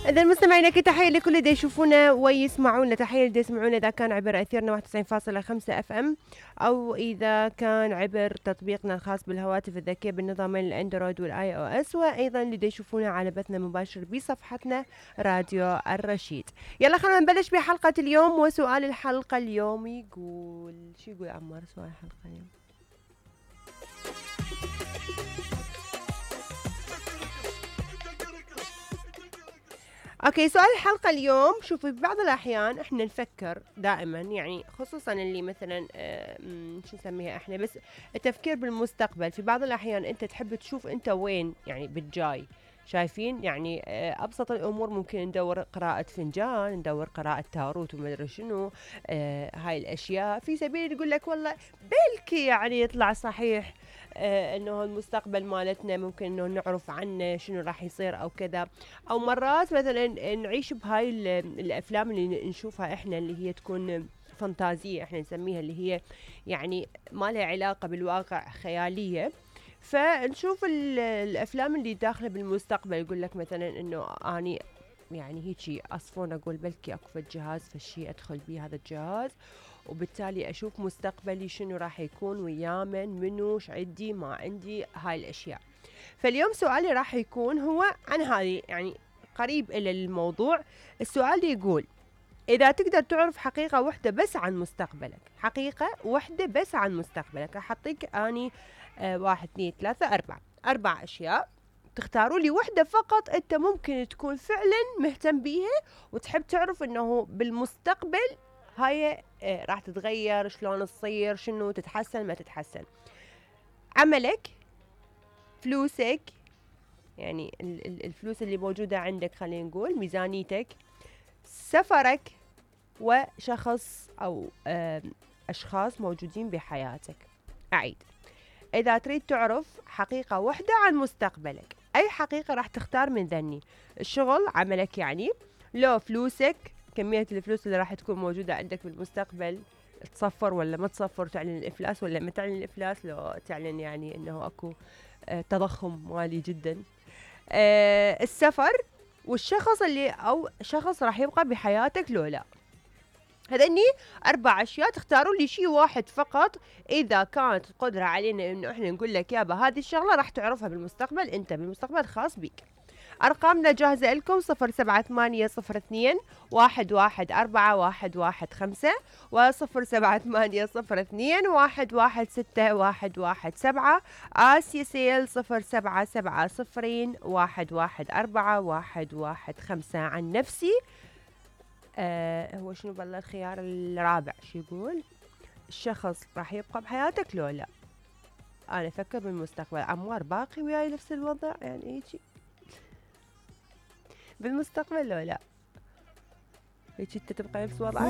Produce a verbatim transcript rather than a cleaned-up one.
إذا مستمعينا كي تحية لكل اللي يشوفونا ويسمعونا، تحية اللي يسمعونا إذا كان عبر أثيرنا واحد وتسعين فاصلة خمسة اف ام، أو إذا كان عبر تطبيقنا الخاص بالهواتف الذكية بالنظامين الأندرويد والآي أو إس، وأيضا اللي يشوفونا على بثنا مباشر بصفحتنا راديو الرشيد. يلا خلينا نبلش بحلقة اليوم، وسؤال الحلقة اليوم يقول شو يقول عمار سؤال الحلقة اليوم؟ اوكي، سؤال الحلقة اليوم، شوفي ببعض الأحيان احنا نفكر دائما، يعني خصوصا اللي مثلا آه شو نسميها احنا، بس التفكير بالمستقبل. في بعض الأحيان انت تحب تشوف انت وين يعني بالجاي، شايفين يعني آه أبسط الأمور ممكن ندور قراءة فنجان، ندور قراءة تاروت وما أدري شنو آه هاي الأشياء، في سبيل يقول لك والله بلكي يعني يطلع صحيح آه انه المستقبل مالتنا ممكن انه نعرف عنه شنو راح يصير او كذا. او مرات مثلا نعيش بهاي الافلام اللي نشوفها احنا اللي هي تكون فانتازية، احنا نسميها اللي هي يعني ما لها علاقة بالواقع، خيالية. فنشوف الافلام اللي داخله بالمستقبل، يقول لك مثلا انه اني يعني هيجي اصفون اقول بلكي اكو فد جهاز فشي ادخل بيه هذا الجهاز، وبالتالي اشوف مستقبلي شنو راح يكون ويامن منو ش عندي ما عندي هاي الاشياء. فاليوم سؤالي راح يكون هو عن هذه، يعني قريب الى الموضوع. السؤال يقول اذا تقدر تعرف حقيقة واحدة بس عن مستقبلك، حقيقة واحدة بس عن مستقبلك، راح اعطيك اني آه واحد اثنين ثلاثة اربعة اربع اشياء، تختاروا لي واحدة فقط انت ممكن تكون فعلا مهتم بيها وتحب تعرف انه بالمستقبل هاي آه راح تتغير، شلون تصير، شنو تتحسن ما تتحسن. عملك، فلوسك، يعني الفلوس اللي موجودة عندك، خلينا نقول ميزانيتك، سفرك، وشخص أو أشخاص موجودين بحياتك. أعيد، إذا تريد تعرف حقيقة واحدة عن مستقبلك، أي حقيقة راح تختار من ذني؟ الشغل، عملك يعني، لو فلوسك، كمية الفلوس اللي راح تكون موجودة عندك بالمستقبل، تصفر ولا ما تصفر، تعلن الإفلاس ولا ما تعلن الإفلاس، لو تعلن يعني أنه أكو تضخم مالي جدا. أه السفر، والشخص اللي او شخص راح يبقى بحياتك لو لا. هذني اربع اشياء، تختاروا لي شيء واحد فقط. اذا كانت القدرة علينا انه احنا نقول لك يابا هذه الشغلة راح تعرفها بالمستقبل، انت بالمستقبل خاص بيك. أرقامنا جاهزة لكم، صفر سبعة ثمانية صفر اثنين واحد واحد أربعة واحد واحد خمسة، وصفر سبعة ثمانية صفر اثنين واحد واحد ستة واحد واحد سبعة. آسيا سيل صفر سبعة سبعة صفرين واحد واحد أربعة واحد واحد خمسة. عن نفسي آه هو شنو بالله الخيار الرابع؟ شو يقول؟ الشخص راح يبقى بحياتك لو لا؟ أنا أفكر بالمستقبل. عمار باقي وياي نفس الوضع يعني هيجي بالمستقبل لو لا؟ هيك انت تبقى نفس وضعك؟